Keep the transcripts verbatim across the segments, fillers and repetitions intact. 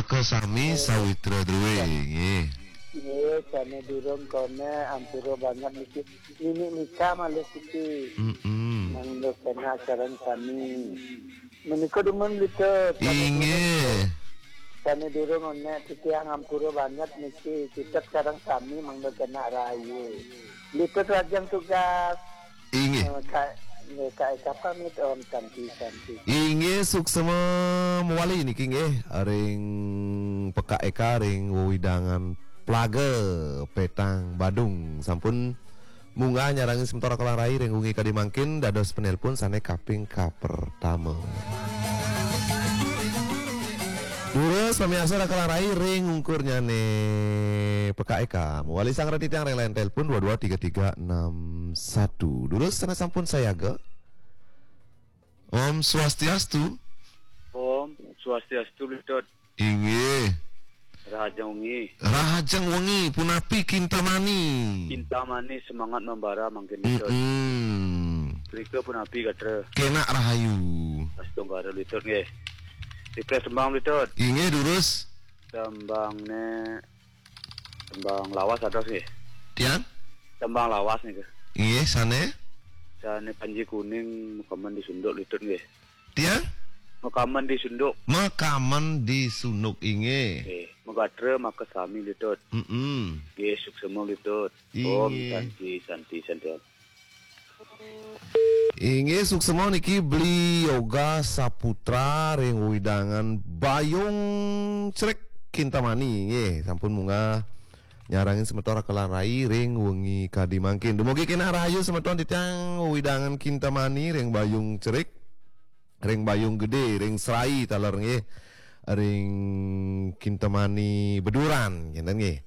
Kesami sawitra druwe, nggih. Nggih, jane durung konek, ampura banget niki. Nini Nika malih siki. Mm-mm. Mangda kenak sareng sami. Menika dumun Litut. Inggih. Jane durung konek, titiang ampura banget niki. Cicep sareng sami mangda kenak rahayu. Litut lajeng tugas. Inggih. Eh, Kak, nggih, Kak Eka pamit, Om, santi, santi. Inggih, suksema mewali niki nggih, ring Pekak Eka ring wewidangan Plaga Petang Badung. Sampun munggah nyarengin semeton Raka lan Rai ring wengi kadi mangkin dados penelpon sane kaping kapertama. Durus pamiarsa Raka lan Rai ring ungkurnyane Pekak Eka. Mewali sang reti tiang ring line telepon dua dua tiga tiga enam satu. Durus sane sampun sayaga. Om Swastiastu. Om Swastiastu, Litut. Inggih. Rahajeng wengi. Rahajeng wengi, punapi Kintamani? Kintamani semangat membara mangkin, Litut. Mm-mm. Rika punapi gatra? Kenak rahayu. Astungkara, Litut, nggih. Rika tembang, Litut. Inggih, durus. Tembangne, tembang lawas atos nggih. Tiang? Tembang lawas nika. Inggih, sane? Sane Panji Kuning, Makamen di Sunduk, Litut, nggih. Tiang? Makamen di Sunduk. Makamen di Sunduk, inggih. Nggih, magatra makasami, Litut. Mm-mm. Nggih, suksema, Litut. Om Inggih. Santi, santi, santi. Inggih, suksema niki Beli Yoga Saputra ring wewidangan Bayung Crik Kintamani, nggih, sampun munggah nyarengin semeton Raka lan Rai ring wengi kadi mangkin. Dumugi kenak rahayu semeton titiang wewidangan Kintamani ring Bayung Crik, ring Bayung Gede, ring Serai taler nggih, ring Kintamani Beduran, kinten nggih.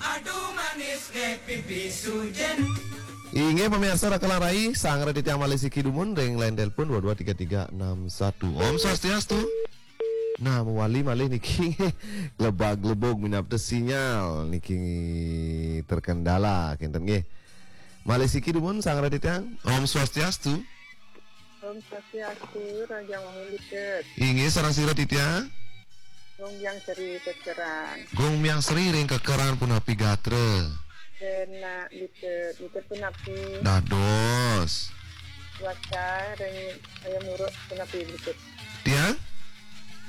Aduh manis deh pipi sujen. Inggih, pamiarsa Raka lan Rai, sang reti tiang malih siki dumun ring line telepon dua dua tiga tiga enam satu. Om Swastiastu. Nah, mewali malih niki lebag-lebug minab sinyal niki terkendala, kinten nggih. Malih siki dumun sang reti tiang. Om Swastiastu. Om Swastiastu, Raja Wahyu Litut. Inggih, sareng sira titiang? Gung Biang Sri Kekeran. Gung Biang Sri ring Kekeran punapi gatra? Kenak Litut, Litut punapi? Dados. Cuaca ring Ayam Uruk punapi Litut? Tiang?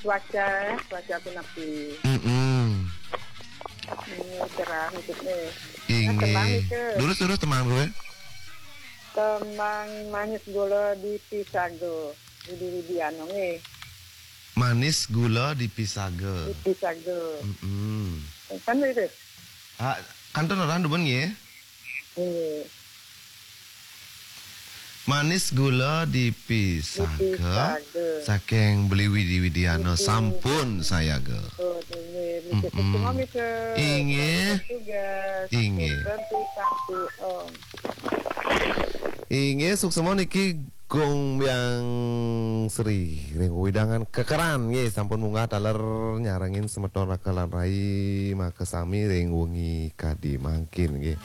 Cuaca, cuaca punapi? Mm-mm. Ini cerah Litut nih. Inggih. Nah, tembang Litut. Durus, durus tembang gue. Tembang Manis Gula di Pisaga. Widi Widiano nggih. Manis Gula di Pisaga. Di Pisaga. Mm-mm. Kan itu? Ah, kantun orang dumun nggih. Nggih. Manis Gula di Pisaga. Di Pisaga. Saking Beli Widi Widiano. Widi. Sampun sayaga. Oh, nggih. Mm-mm. Suksema, Mister. Inggih. Tugas. Inggih. Suksema, Om. Inggih, suksema niki Gung Biang Sri ring wewidangan Kekeran nggih, sampun munggah taler nyarengin semeton Raka lan Rai makasami ring wengi kadi mangkin nggih.